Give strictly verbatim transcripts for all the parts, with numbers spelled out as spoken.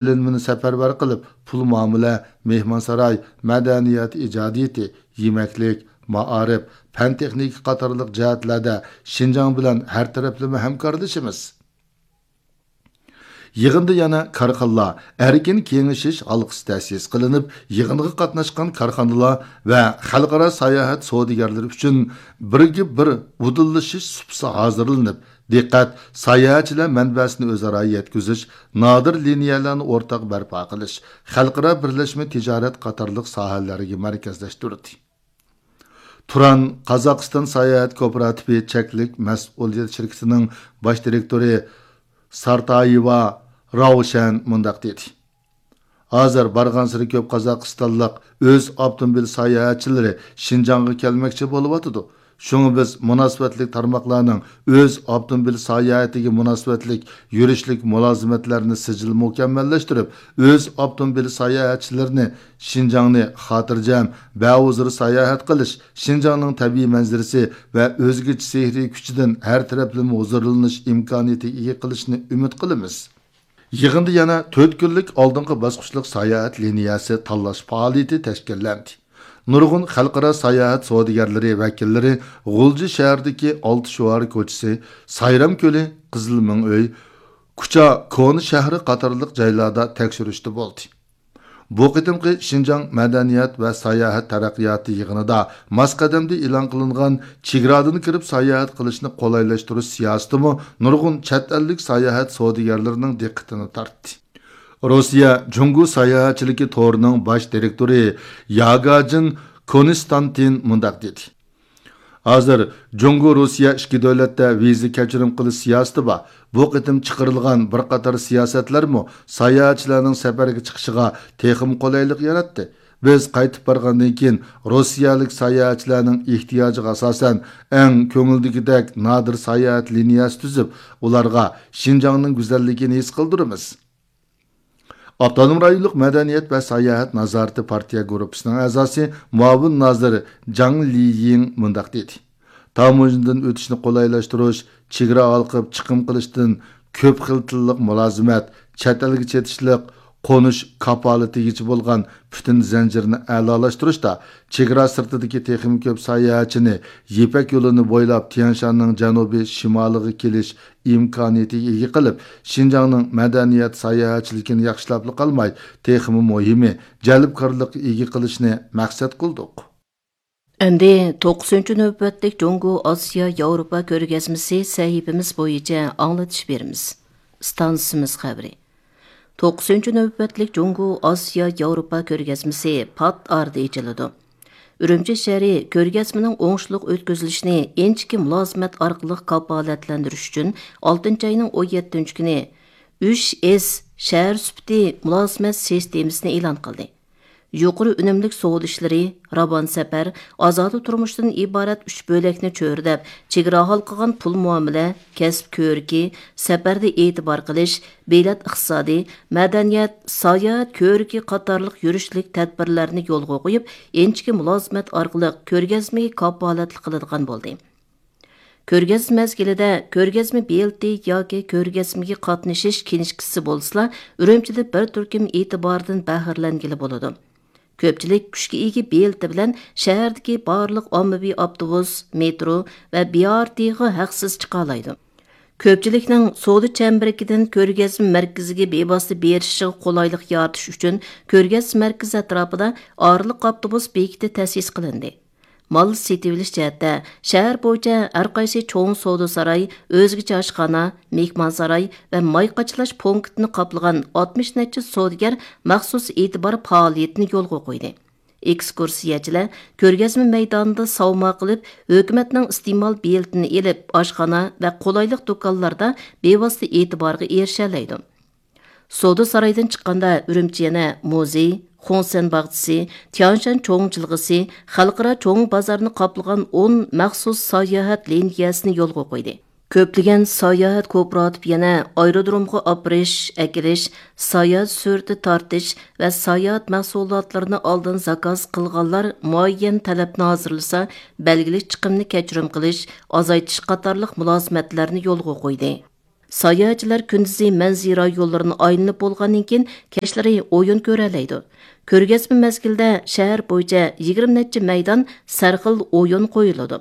ئېلىنمىنى سەپەرۋەر قىلىپ، پۇل مۇئامىلە، مېھمانساراي، مەدەنىيەت ئىجادىيىتى، يېمەكلىك، مائارىپ، پەن تېخنىكا قاتارلىق جەھەتلەردە شىنجاڭ بىلەن ھەر تەرەپلىمە ھەمكارلىشىمىز. يىغىندا يەنە كارخانىلار ئەركىن كېڭىشىش ھالقىسى تەسىس قىلىنىپ، يىغىنغا قاتناشقان كارخانىلار ۋە خەلقئارا ساياھەت سودىگەرلىرى ئۈچۈن بىرگە بىر ئۇدۇللىشىش سۇپىسى ھازىرلىنىپ، دىققەت ساياھەتچىلەر مەنبەسىنى ئۆزئارا يەتكۈزۈش، نادىر لىنىيەلەرنى ئورتاق بەرپا قىلىش، خەلقئارا بىرلەشمە تىجارەت قاتارلىق ساھەلەرگە مەركەزلەشتۈردى. تۇران قازاقىستان ساياھەت كوپىراتىپى چەكلىك مەسئۇلىيەت شىركىتىنىڭ باش دىرېكتورى سارتايېۋا راۋشەن مۇنداق دېدى: ھازىر بارغانسېرى كۆپ قازاقىستانلىق ئۆز ئاپتوموبىل ساياھەتچىلىرى شىنجاڭغا كەلمەكچى بولۇۋاتىدۇ. شۇڭا بىز مۇناسىۋەتلىك تارماقلارنىڭ ئۆز ئاپتوموبىل ساياھىتىگە مۇناسىۋەتلىك يۈرۈشلۈك مۇلازىمەتلەرنى سىجىل مۇكەممەللەشتۈرۈپ، ئۆز ئاپتوموبىل ساياھەتچىلىرىنى شىنجاڭنى خاتىرجەم، بەھۇزۇر ساياھەت قىلىش، شىنجاڭنىڭ تەبىئىي مەنزىرىسى ۋە ئۆزگىچە سېھرىي كۈچىدىن ھەر تەرەپلىمە ھۇزۇرلىنىش ئىمكانىيىتىگە ئىگە قىلىشنى ئۈمىد قىلىمىز. يىغىندا يەنە تۆت كۈنلۈك ئالدىنقى باسقۇچلۇق ساياھەت لىنىيەسى تاللاش پائالىيىتى تەشكىللەندى. نۇرغۇن خەلقئارا ساياھەت سودىگەرلىرى ۋەكىللىرى غۇلجا شەھىرىدىكى ئالتە شوئار كوچىسى، سايرام كۆلى، قىزىل مىڭ ئۆي، كۇچا كونا شەھىرى قاتارلىق جايلاردا تەكشۈرۈشتە بولدى. بۇ قېتىمقى شىنجاڭ مەدەنىيەت ۋە ساياھەت تەرەققىياتى يىغىنىدا ماس قەدەمدە ئېلان قىلىنغان چېگرادىن كىرىپ ساياھەت قىلىشنى قولايلاشتۇرۇش سىياسىتىمۇ نۇرغۇن چەت ئەللىك ساياھەت سودىگەرلىرىنىڭ دىققىتىنى تارتتى. روسىيە جۇڭگو ساياھەتچىلىكى تورىنىڭ باش دىرېكتورى ياگاجىن كونستانتىن مۇنداق دېدى: ھازىر جۇڭگو روسىيە ئىككى دۆلەتتە ۋىزا كەچۈرۈم قىلىش سىياسىتى بار. بۇ قېتىم چىقىرىلغان بىر قاتار سىياسەتلەرمۇ ساياھەتچىلەرنىڭ سەپەرگە چىقىشىغا تېخىمۇ قولايلىق ياراتتى. بىز قايتىپ بارغاندىن كېيىن روسىيەلىك ساياھەتچىلەرنىڭ ئېھتىياجىغا ئاساسەن ئەڭ كۆڭۈلدىكىدەك نادىر ساياھەت لىنىيەسى تۈزۈپ، ئۇلارغا شىنجاڭنىڭ گۈزەللىكىنى ھېس قىلدۇرىمىز. ئاپتونوم رايونلۇق مەدەنىيەت ۋە ساياھەت نازارىتى پارتىيە گۇرۇپپىسىنىڭ ئەزاسى، مۇئاۋىن نازىر جاڭ لىيىڭ مۇنداق دېدى: تاموژنىدىن ئۆتۈشنى قولايلاشتۇرۇش، چېگرا ھالقىپ چىقىم قىلىشتىن كۆپ خىل تىللىق مۇلازىمەت، چەت ئەلگە چېتىشلىق، قونۇش كاپالىتىگىچە بولغان پۈتۈن زەنجىرنى ئەلالاشتۇرۇشتا، چېگرا سىرتىدىكى تېخىمۇ كۆپ ساياھەتچىنى يىپەك يولىنى بويلاپ تيەنشاننىڭ جەنۇبىي، شىمالىغا كېلىش ئىمكانىيىتىگە ئىگە قىلىپ، شىنجاڭنىڭ مەدەنىيەت ساياھەتچىلىكىنى ياخشىلاپلا قالماي، تېخىمۇ مۇھىمى، جەلپكارلىققا ئىگە قىلىشنى مەقسەت قىلدۇق. ئەمدى توققۇزىنچى نۆۋەتلىك جۇڭگو ئاسىيا ياۋروپا كۆرگەزمىسى سەھىپىمىز بويىچە ئاڭلىتىش بېرىمىز. ئىستانسىمىز خەۋىرى. توققۇزىنچى نۆۋەتلىك جۇڭگو ئاسىيا ياۋروپا كۆرگەزمىسى پات ئارىدا ئېچىلىدۇ. ئۈرۈمچى شەھىرى كۆرگەزمىنىڭ ئوڭۇشلۇق ئۆتكۈزۈلۈشىنى ئىنچىكە مۇلازىمەت ئارقىلىق كاپالەتلەندۈرۈش ئۈچۈن ئالتىنچى ئاينىڭ ئون يەتتىنچى كۈنى ئۈچ ئېس شەھەر سۈپىتى مۇلازىمەت سىستېمىسىنى ئېلان قىلدى. يۇقىرى ئۈنۈملۈك سودا ئىشلىرى، راۋان سەپەر، ئازادە تۇرمۇشتىن ئىبارەت ئۈچ بۆلەكنى چۆرىدەپ، چېگرا ھالقىغان پۇل مۇئامىلە، كەسىپ كۆرىكى، سەپەردە ئېتىبار قىلىش، بېلەت ئىقتىسادى، مەدەنىيەت، ساياھەت كۆرىكى قاتارلىق يۈرۈشلۈك تەدبىرلەرنى يولغا قويۇپ، ئىنچىكە مۇلازىمەت ئارقىلىق كۆرگەزمىگە كاپالەتلىك قىلىدىغان بولدى. كۆرگەزمە مەزگىلىدە كۆرگەزمە بېلىتى ياكى كۆرگەزمىگە قاتنىشىش كىنىشكىسى بولسىلا، ئۈرۈمچىدە بىر تۈركۈم ئېتىباردىن بەھرىلەنگىلى بولىدۇ. كۆپچىلىك كۈچكە ئىگە بېلىتى بىلەن شەھەردىكى بارلىق ئاممىۋى ئاپتوبۇس، مېترو ۋە بىئارتىغا ھەقسىز چىقالايدۇ. كۆپچىلىكنىڭ سودا چەمبىرىكىدىن كۆرگەزمە مەركىزىگە بىۋاسىتە بېرىشىغا قولايلىق يارىتىش ئۈچۈن، كۆرگەزمە مەركىزى ئەتراپىدا ئارىلىق ئاپتوبۇس بېكىتى تەسىس قىلىندى. مال سېتىۋېلىش جەھەتتە، شەھەر بويىچە ھەر قايسى چوڭ سودا ساراي، ئۆزگىچە ئاشخانا، مېھمانساراي ۋە ماي قاچىلاش پونكىتىنى قاپلىغان ئاتمىش نەچچە سودىگەر مەخسۇس ئېتىبار پائالىيىتىنى يولغا قويدى. ئېكسكۇرسىيەچىلەر كۆرگەزمە مەيدانىدا ساۋما قىلىپ، ھۆكۈمەتنىڭ ئىستېمال بېلىتىنى ئېلىپ، ئاشخانا ۋە قولايلىق دۇكانلاردا بىۋاسىتە ئېتىبارغا ئېرىشەلەيدۇ. سودا سارايدىن چىققاندا، ئۈرۈمچى يەنە مۇزېي، خۇڭسەن باغچىسى، تيانشان چوڭ جىلغىسى، خەلقئارا چوڭ بازارنى قاپلىغان ئون مەخسۇس ساياھەت لىنىيەسىنى يولغا قويدى. كۆپلىگەن ساياھەت كوپىراتىپى يەنە ئايرودرومغا ئاپىرىش، ئەكېلىش، ساياھەت سۈرىتى تارتىش ۋە ساياھەت مەھسۇلاتلىرىنى ئالدىن زاكاز قىلغانلار مۇئەييەن تەلەپنى ھازىرلىسا، بەلگىلىك چىقىمنى كەچۈرۈم قىلىش، ئازايتىش قاتارلىق مۇلازىمەتلەرنى يولغا قويدى. ساياھەتچىلەر كۈندۈزى مەنزىرە يوللىرىنى ئايلىنىپ بولغاندىن كېيىن، كەچلىرى ئويۇن كۆرەلەيدۇ. كۆرگەزمە مەزگىلىدە شەھەر بويىچە يىگىرمە نەچچە مەيدان سەرخىل ئويۇن قويۇلىدۇ.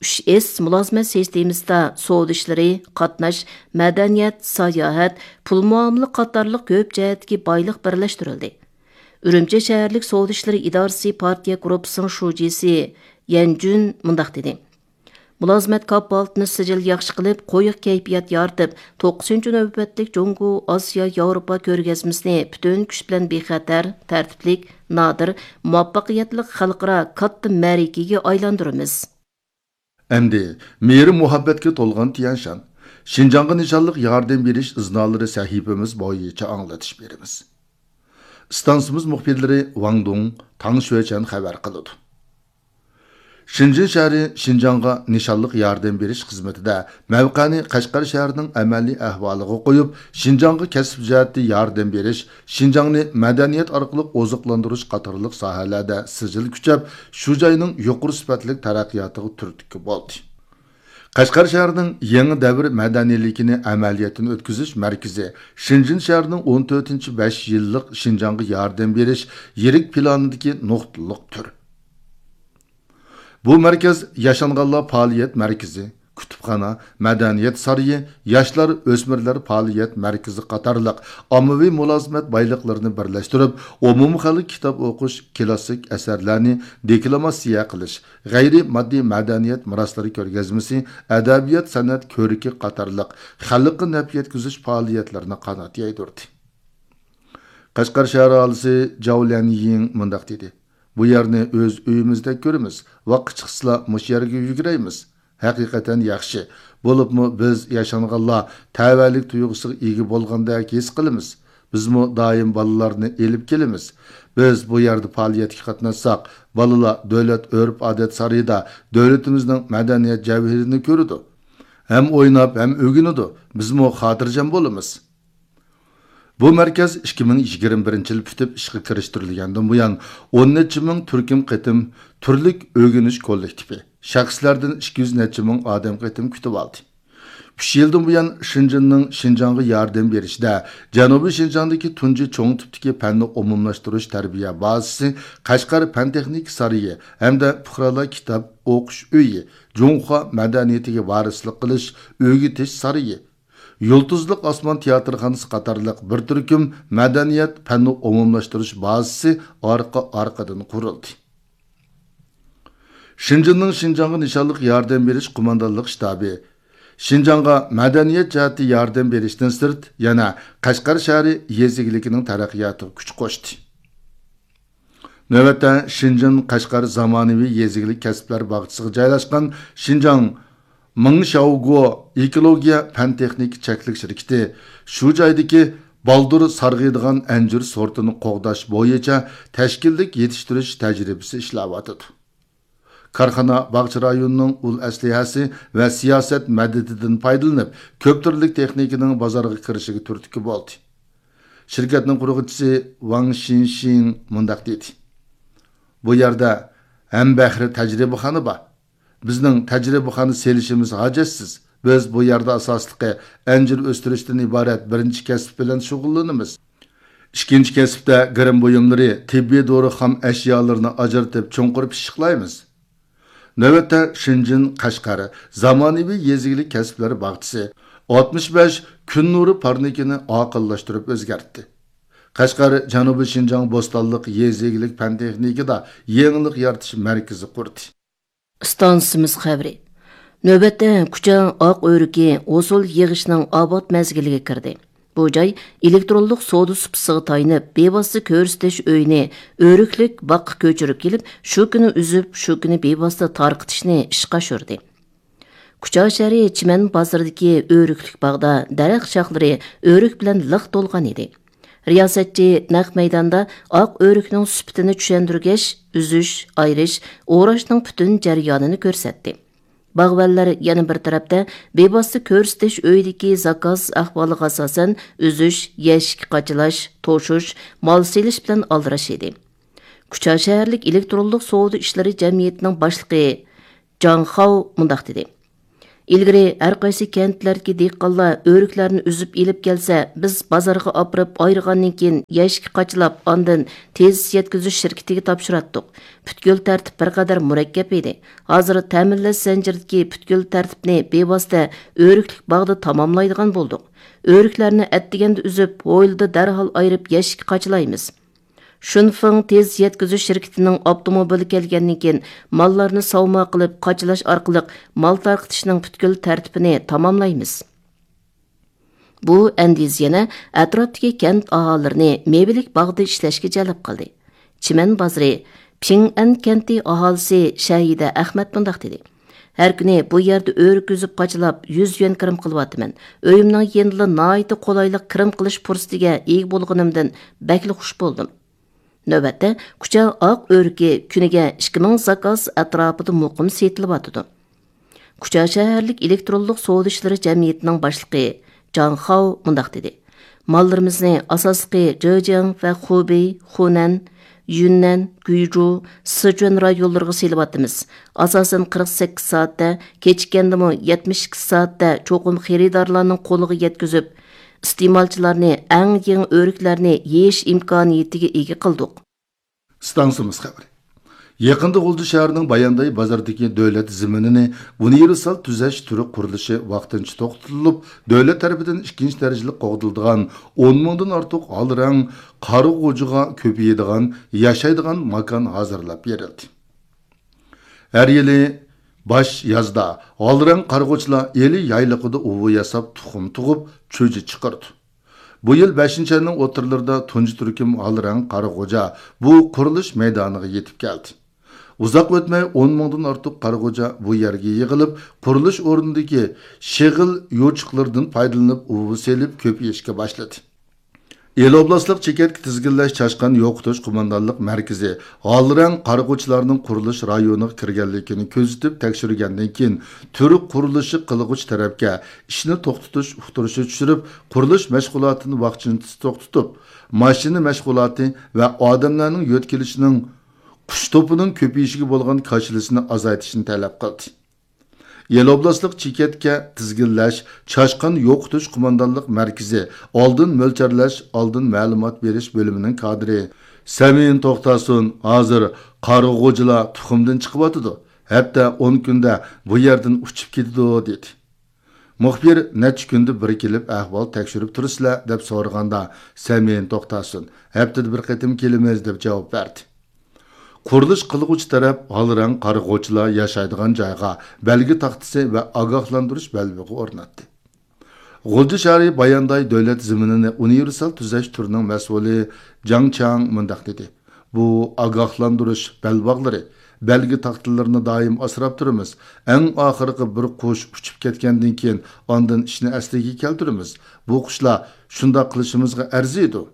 ئۈچ ئېس مۇلازىمەت سىستېمىسىدا سودا ئىشلىرى، قاتناش، مەدەنىيەت، ساياھەت، پۇل مۇئامىلە قاتارلىق كۆپ جەھەتتىكى بايلىق بىرلەشتۈرۈلدى. ئۈرۈمچى شەھەرلىك سودا ئىشلىرى ئىدارىسى پارتىيە گۇرۇپپىسىنىڭ شۇجىسى يەن جۈن مۇنداق دېدى: مۇلازىمەت كاپالىتىنى سىجىل ياخشى قىلىپ، قويۇق كەيپىيات يارىتىپ، توققۇزىنچى نۆۋەتلىك جۇڭگو ئاسىيا ياۋروپا كۆرگەزمىسىنى پۈتۈن كۈچ بىلەن بىخەتەر، تەرتىپلىك، نادىر، مۇۋەپپەقىيەتلىك خەلقئارا كاتتا مەرىكىگە ئايلاندۇرىمىز. ئەمدى مېھرى مۇھەببەتكە تولغان تيەنشان، شىنجاڭغا نىشانلىق ياردەم بېرىش ئىزنالىرى سەھىپىمىز بويىچە ئاڭلىتىش بېرىمىز. ئىستانسىمىز مۇخبىرلىرى ۋاڭ دۇڭ، تاڭ شۈەچەن خەۋەر قىلىدۇ. شېنجېن شەھىرى شىنجاڭغا نىشانلىق ياردەم بېرىش خىزمىتىدە مەۋقەنى قەشقەر شەھىرىنىڭ ئەمەلىي ئەھۋالىغا قويۇپ، شىنجاڭغا كەسىپ جەھەتتە ياردەم بېرىش، شىنجاڭنى مەدەنىيەت ئارقىلىق ئوزۇقلاندۇرۇش قاتارلىق ساھەلەردە سىجىل كۈچەپ، شۇ جاينىڭ يۇقىرى سۈپەتلىك تەرەققىياتىغا تۈرتكە بولدى. قەشقەر شەھىرىنىڭ يېڭى دەۋر مەدەنىيلىكىنى ئەمەلىيەتتىن ئۆتكۈزۈش مەركىزى شېنجېن شەھىرىنىڭ ئون تۆتىنچى بەش يىللىق شىنجاڭغا ياردەم بېرىش يىرىك پىلانىدىكى نۇقتىلىق تۈر. بۇ مەركەز ياشانغانلار پائالىيەت مەركىزى، كۇتۇپخانا، مەدەنىيەت سارىيى، ياشلار، ئۆسمۈرلەر پائالىيەت مەركىزى قاتارلىق ئاممىۋى مۇلازىمەت بايلىقلىرىنى بىرلەشتۈرۈپ، ئومۇمخەلق كىتاب ئوقۇش، كلاسسىك ئەسەرلەرنى دېكلاماتسىيە قىلىش، غەيرىي ماددىي مەدەنىيەت مىراسلىرى كۆرگەزمىسى، ئەدەبىيات، سەنئەت كۆرىكى قاتارلىق خەلققە نەپ يەتكۈزۈش پائالىيەتلىرىنى قانات يايدۇردى. قەشقەر شەھەر ئاھالىسى جاۋ ليەنيىڭ مۇنداق دېدى: بۇ يەرنى ئۆز ئۆيىمىزدەك كۆرىمىز، ۋاقىت چىقسىلا مۇشۇ يەرگە يۈگۈرەيمىز. ھەقىقەتەن ياخشى. بولۇپمۇ بىز ياشانغانلار تەۋەلىك تۇيغۇسىغا ئىگە بولغاندەك ھېس قىلىمىز. بىزمۇ دائىم بالىلارنى ئېلىپ كېلىمىز. بىز بۇ يەردە پائالىيەتكە قاتناشساق، بالىلار دۆلەت ئۆرپ-ئادەت سارىيىدا دۆلىتىمىزنىڭ مەدەنىيەت جەۋھىرىنى كۆرىدۇ. ھەم ئويناپ، ھەم ئۆگىنىدۇ. بىزمۇ خاتىرجەم بولىمىز. بۇ مەركەز ئىككى مىڭ يىگىرمە بىرىنچى يىل پۈتۈپ ئىشقا كىرىشتۈرۈلگەندىن بۇيان، ئون نەچچە مىڭ تۈركۈم قېتىم تۈرلۈك ئۆگىنىش كوللېكتىپى، شەخسلەردىن ئىككى يۈز نەچچە مىڭ ئادەم قېتىم كۈتۈۋالدى. ئۈچ يىلدىن بۇيان شېنجېننىڭ شىنجاڭغا ياردەم بېرىشىدە جەنۇبىي شىنجاڭدىكى تۇنجى چوڭ تىپتىكى پەننى ئومۇملاشتۇرۇش تەربىيە بازىسى، قەشقەر پەن تېخنىكا سارىيى ھەمدە پۇقرالار كىتاب ئوقۇش ئۆيى، جۇڭخۇا مەدەنىيىتىگە ۋارىسلىق قىلىش، ئۆگىتىش سارىيى، يۇلتۇزلۇق ئاسمان تىياتىرخانىسى قاتارلىق بىر تۈركۈم مەدەنىيەت پەننى ئومۇملاشتۇرۇش بازىسى ئارقا-ئارقىدىن قۇرۇلدى. شېنجېننىڭ شىنجاڭغا نىشانلىق ياردەم بېرىش قوماندانلىق شتابى شىنجاڭغا مەدەنىيەت جەھەتتە ياردەم بېرىشتىن سىرت، يەنە قەشقەر شەھىرى يېزا ئىگىلىكىنىڭ تەرەققىياتىغا كۈچ قوشتى. نۆۋەتتە، شېنجېن قەشقەر زامانىۋى يېزا ئىگىلىك كەسىپلەر باغچىسىغا جايلاشقان شىنجاڭ مىڭشياۋگو ئېكولوگىيە پەن تېخنىكا چەكلىك شىركىتى شۇ جايدىكى بالدۇر سارغىيدىغان ئەنجۈر سورتىنى قوغداش بويىچە تەشكىللىك يېتىشتۈرۈش تەجرىبىسى ئىشلەۋاتىدۇ. كارخانا باغچە رايونىنىڭ ئۇل ئەسلىھەسى ۋە سىياسەت مەدىتىدىن پايدىلىنىپ، كۆپ تۈرلۈك تېخنىكىنىڭ بازارغا كىرىشىگە تۈرتكە بولدى. شىركەتنىڭ قۇرغۇچىسى ۋاڭ شىنشىڭ مۇنداق دېدى: بۇ يەردە ھەمبەھرە تەجرىبىخانا بار. بىزنىڭ تەجرىبىخانا سېلىشىمىز ھاجەتسىز. بىز بۇ يەردە ئاساسلىقى ئەنجۈر ئۆستۈرۈشتىن ئىبارەت بىرىنچى كەسىپ بىلەن شۇغۇللىنىمىز. ئىككىنچى كەسىپتە گىرىم بۇيۇملىرى، تېببىي دورا خام ئەشيالىرىنى ئاجرىتىپ چوڭقۇر پىششىقلايمىز. نۆۋەتتە شېنجېن قەشقەر زامانىۋى يېزا ئىگىلىك كەسىپلەر باغچىسى ئاتمىش بەش كۈن نۇرى پارنىكىنى ئاقىللاشتۇرۇپ ئۆزگەرتتى. قەشقەر جەنۇبىي شىنجاڭ بوستانلىق يېزا ئىگىلىك پەن تېخنىكىدا يېڭىلىق يارىتىش مەركىزى قۇردى. ئىستانسىمىز خەۋىرى. نۆۋەتتە كۇچا ئاق ئۆرۈكى ھوسۇل يىغىشنىڭ ئاۋات مەزگىلىگە كىردى. بۇ جاي ئېلېكترونلۇق سودا سۇپىسىغا تايىنىپ، بىۋاسىتە كۆرسىتىش ئۆيىنى ئۆرۈكلۈك باغقا كۆچۈرۈپ كېلىپ، شۇ كۈنى ئۈزۈپ، شۇ كۈنى بىۋاسىتە تارقىتىشنى ئىشقا ئاشۇردى. كۇچا شەھىرى چىمەن بازىرىدىكى ئۆرۈكلۈك باغدا دەرەخ شاخلىرى ئۆرۈك بىلەن لىق تولغان ئىدى. رىياسەتچى نەق مەيداندا ئاق ئۆرۈكنىڭ سۈپىتىنى چۈشەندۈرگەچ، ئۈزۈش، ئايرىش، ئوراشنىڭ پۈتۈن جەريانىنى كۆرسەتتى. باغۋەنلەر يەنە بىر تەرەپتە بىۋاسىتە كۆرسىتىش ئۆيىدىكى زاكاز ئەھۋالىغا ئاساسەن، ئۈزۈش، يەشىككە قاچىلاش، توشۇش، مال سېلىش بىلەن ئالدىراش ئىدى. كۇچا شەھەرلىك ئېلېكترونلۇق سودا ئىشلىرى جەمئىيىتىنىڭ باشلىقى جاڭ خاۋ مۇنداق دېدى: ئىلگىرى ھەر قايسى كەنتلەردىكى دېھقانلار ئۆرۈكلەرنى ئۈزۈپ ئېلىپ كەلسە، بىز بازارغا ئاپىرىپ ئايرىغاندىن كېيىن يەشىككە قاچىلاپ، ئاندىن تېز يەتكۈزۈش شىركىتىگە تاپشۇراتتۇق. پۈتكۈل تەرتىپ بىر قەدەر مۇرەككەپ ئىدى. ھازىر تەمىنلەش زەنجىرىدىكى پۈتكۈل تەرتىپنى بىۋاسىتە ئۆرۈكلۈك باغدا تاماملايدىغان بولدۇق. ئۆرۈكلەرنى ئەتىگەندە ئۈزۈپ، ھويلىدا دەرھال ئايرىپ يەشىككە قاچىلايمىز. شۇنفېڭ تېز يەتكۈزۈش شىركىتىنىڭ ئاپتوموبىلى كەلگەندىن كېيىن، ماللارنى ساۋما قىلىپ قاچىلاش ئارقىلىق مال تارقىتىشنىڭ پۈتكۈل تەرتىپىنى تاماملايمىز. بۇ ئەندىزە يەنە ئەتراپتىكى كەنت ئاھالىلىرىنى مېۋىلىك باغدا ئىشلەشكە جەلپ قىلدى. چىمەن بازىرى پىڭئەن كەنتى ئاھالىسى شەھىدە ئەخمەت مۇنداق دېدى: ھەر كۈنى بۇ يەردە ئۆرۈك ئۈزۈپ قاچىلاپ يۈز يۈەن كىرىم قىلىۋاتىمەن. ئۆيۈمنىڭ يېنىدىلا ناھايىتى قولايلىق كىرىم قىلىش پۇرسىتىگە ئىگە بولغىنىمدىن بەكلا خۇش بولدۇم. نۆۋەتتە كۇچا ئاق ئۆرۈكى كۈنىگە ئىككى مىڭ زاكاز ئەتراپىدا مۇقىم سېتىلىۋاتىدۇ. كۇچا شەھەرلىك ئېلېكترونلۇق سودا ئىشلىرى جەمئىيىتىنىڭ باشلىقى جاڭ خاۋ مۇنداق دېدى: ماللىرىمىزنى ئاساسلىقى جېجياڭ ۋە خۇبېي، خۇنەن، يۈننەن، گۇيجۇ، سىچۈەن رايونلىرىغا سېلىۋاتىمىز. ئاساسەن قىرىق سەككىز سائەتتە، كېچىككەندىمۇ يەتمىش ئىككى سائەتتە چوقۇم خېرىدارلارنىڭ قولىغا يەتكۈزۈپ، ئىستېمالچىلارنى ئەڭ يېڭى ئۆرۈكلەرنى يېيىش ئىمكانىيىتىگە ئىگە قىلدۇق. ئىستانسىمىز خەۋىرى. يېقىندا غۇلجا شەھىرىنىڭ بايانداي بازىرىدىكى دۆلەت زېمىنىنى ئۇنىۋېرسال تۈزەش تۈرى قۇرۇلۇشى ۋاقتىنچە توختىتىلىپ، دۆلەت تەرىپىدىن ئىككىنچى دەرىجىلىك قوغدىلىدىغان ئون مىڭدىن ئارتۇق ھالرەڭ قارا غوجىغا كۆپىيىدىغان ياشايدىغان ماكان ھازىرلاپ بېرىلدى. ھەر يىلى باش يازدا ھالرەڭ قارىغۇچىلار ئىلى يايلىقىدا ئۇۋا ياساپ، تۇخۇم تۇغۇپ، چۈجە چىقىرىدۇ. بۇ يىل بەشىنچى ئاينىڭ ئوتتۇرىلىرىدا تۇنجى تۈركۈم ھالرەڭ قارىغۇچا بۇ قۇرۇلۇش مەيدانىغا يېتىپ كەلدى. ئۇزاق ئۆتمەي ئون مىڭدىن ئارتۇق قارىغۇچا بۇ يەرگە يىغىلىپ، قۇرۇلۇش ئورنىدىكى شېغىل يوچۇقلىرىدىن پايدىلىنىپ ئۇۋا سېلىپ كۆپىيىشكە باشلىدى. ئىلى ئوبلاستلىق چېكەتكە تىزگىنلەش چاشقان يوقىتىش قوماندانلىق مەركىزى ھالرەڭ قارىغۇچىلارنىڭ قۇرۇلۇش رايونىغا كىرگەنلىكىنى كۆزىتىپ تەكشۈرگەندىن كېيىن، تۈرك قۇرۇلۇشى قىلغۇچى تەرەپكە ئىشنى توختىتىش ئۇقتۇرۇشى چۈشۈرۈپ، قۇرۇلۇش مەشغۇلاتىنى ۋاقتىنچە توختىتىپ، ماشىنا مەشغۇلاتى ۋە ئادەملەرنىڭ يۆتكىلىشىنىڭ قۇش توپىنىڭ كۆپىيىشىگە بولغان كاشىلىسىنى ئازايتىشنى تەلەپ قىلدى. ئىلى ئوبلاستلىق چېكەتكە تىزگىنلەش، چاشقان يوقىتىش قوماندانلىق مەركىزى ئالدىن مۆلچەرلەش، ئالدىن مەلۇمات بېرىش بۆلۈمىنىڭ كادىرى سەمىن توختاسۇن ھازىر قارىغۇچىلار تۇخۇمدىن چىقىۋاتىدۇ، ھەپتە ئون كۈندە بۇ يەردىن ئۇچۇپ كېتىدۇ، دېدى. مۇخبىر نەچچە كۈندە بىر كېلىپ ئەھۋال تەكشۈرۈپ تۇرىسىلەر، دەپ سورىغاندا، سەمىن توختاسۇن ھەپتىدە بىر قېتىم كېلىمىز، دەپ جاۋاب بەردى. قۇرۇلۇش قىلغۇچى تەرەپ ھالرەڭ قارىغۇچىلار ياشايدىغان جايغا بەلگە تاختىسى ۋە ئاگاھلاندۇرۇش بەلبېغى ئورناتتى. غۇلجا شەھىرى بايانداي دۆلەت زېمىنىنى ئۇنىۋېرسال تۈزەش تۈرىنىڭ مەسئۇلى جاڭ چياڭ مۇنداق دېدى: بۇ ئاگاھلاندۇرۇش بەلباغلىرى، بەلگە تاختىلىرىنى دائىم ئاسراپ تۇرىمىز. ئەڭ ئاخىرقى بىر قۇش ئۇچۇپ كەتكەندىن كېيىن، ئاندىن ئىشنى ئەسلىگە كەلتۈرىمىز. بۇ قۇشلار شۇنداق قىلىشىمىزغا ئەرزىيدۇ.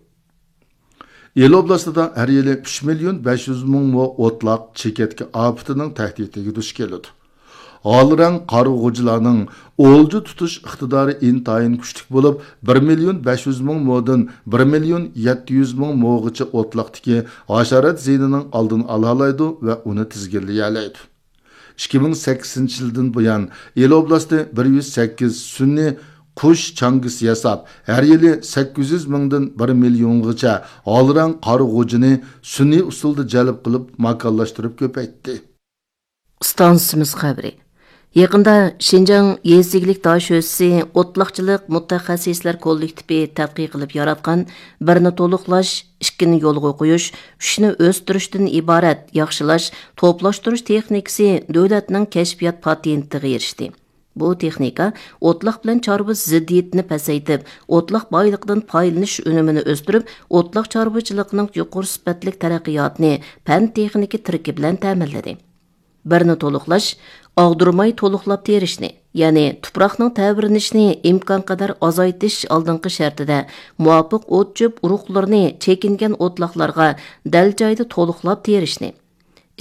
ئىلى ئوبلاستىدا ھەر يىلى ئۈچ مىليون بەش يۈز مىڭ مو ئوتلاق چېكەتكە ئاپىتىنىڭ تەھدىتىگە دۇچ كېلىدۇ. ھالرەڭ قارىغۇچىلارنىڭ ئولجا تۇتۇش ئىقتىدارى ئىنتايىن كۈچلۈك بولۇپ، بىر مىليون بەش يۈز مىڭ مودىن بىر مىليون يەتتە يۈز مىڭ موغىچە ئوتلاقتىكى ھاشارات زىيىنىنىڭ ئالدىنى ئالالايدۇ ۋە ئۇنى تىزگىنلىيەلەيدۇ. ئىككى مىڭ سەككىزىنچى يىلدىن بۇيان، ئىلى ئوبلاستى بىر يۈز سەككىز سۈنئىي قۇش چاڭگىسى ياساپ، ھەر يىلى سەككىز يۈز مىڭدىن بىر مىليونغىچە ھالرەڭ قارىغۇچىنى سۈنئىي ئۇسۇلدا جەلپ قىلىپ، ماكانلاشتۇرۇپ كۆپەيتتى. ئىستانسىمىز خەۋىرى. يېقىندا شىنجاڭ يېزا ئىگىلىك داشۆسىسى ئوتلاقچىلىق مۇتەخەسسىسلەر كوللېكتىپى تەتقىق قىلىپ ياراتقان بىرنى تولۇقلاش، ئىككىنى يولغا قويۇش، ئۈچنى ئۆستۈرۈشتىن ئىبارەت ياخشىلاش، توپلاشتۇرۇش تېخنىكىسى دۆلەتنىڭ كەشپىيات پاتېنتىغا ئېرىشتى. بۇ تېخنىكا ئوتلاق بىلەن چارۋا زىددىيىتىنى پەسەيتىپ، ئوتلاق بايلىقىدىن پايدىلىنىش ئۈنۈمىنى ئۆستۈرۈپ، ئوتلاق چارۋىچىلىقىنىڭ يۇقىرى سۈپەتلىك تەرەققىياتىنى پەن تېخنىكا تىرىكى بىلەن تەمىنلىدى. بىرنى تولۇقلاش، ئاغدۇرماي تولۇقلاپ تېرىشنى، يەنى تۇپراقنىڭ تەۋرىنىشىنى ئىمكانقەدەر ئازايتىش ئالدىنقى شەرتىدە، مۇۋاپىق ئوت-چۆپ ئۇرۇقلىرىنى چېكىنگەن ئوتلاقلارغا دەل جايىدا تولۇقلاپ تېرىشنى،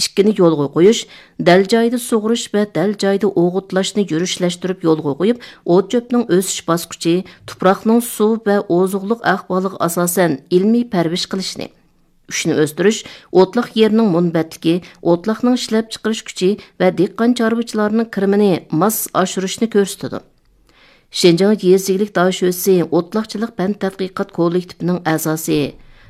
ئىككىنى يولغا قويۇش، دەل جايىدا سۇغىرىش ۋە دەل جايىدا ئوغۇتلاشنى يۈرۈشلەشتۈرۈپ يولغا قويۇپ، ئوت-چۆپنىڭ ئۆسۈش باسقۇچى، تۇپراقنىڭ سۇ ۋە ئوزۇقلۇق ئەھۋالىغا ئاساسەن ئىلمىي پەرۋىش قىلىشنى، ئۈچنى ئۆستۈرۈش ئوتلاق يېرىنىڭ مۇنبەتلىكى، ئوتلاقنىڭ ئىشلەپچىقىرىش كۈچى ۋە دېھقان چارۋىچىلارنىڭ كىرىمىنى ماس ئاشۇرۇشنى كۆرسىتىدۇ. شىنجاڭ يېزا ئىگىلىك دائىشۆسى ئوتلاقچىلىق پەن تەتقىقات كوللېكتىپىنىڭ ئەزاسى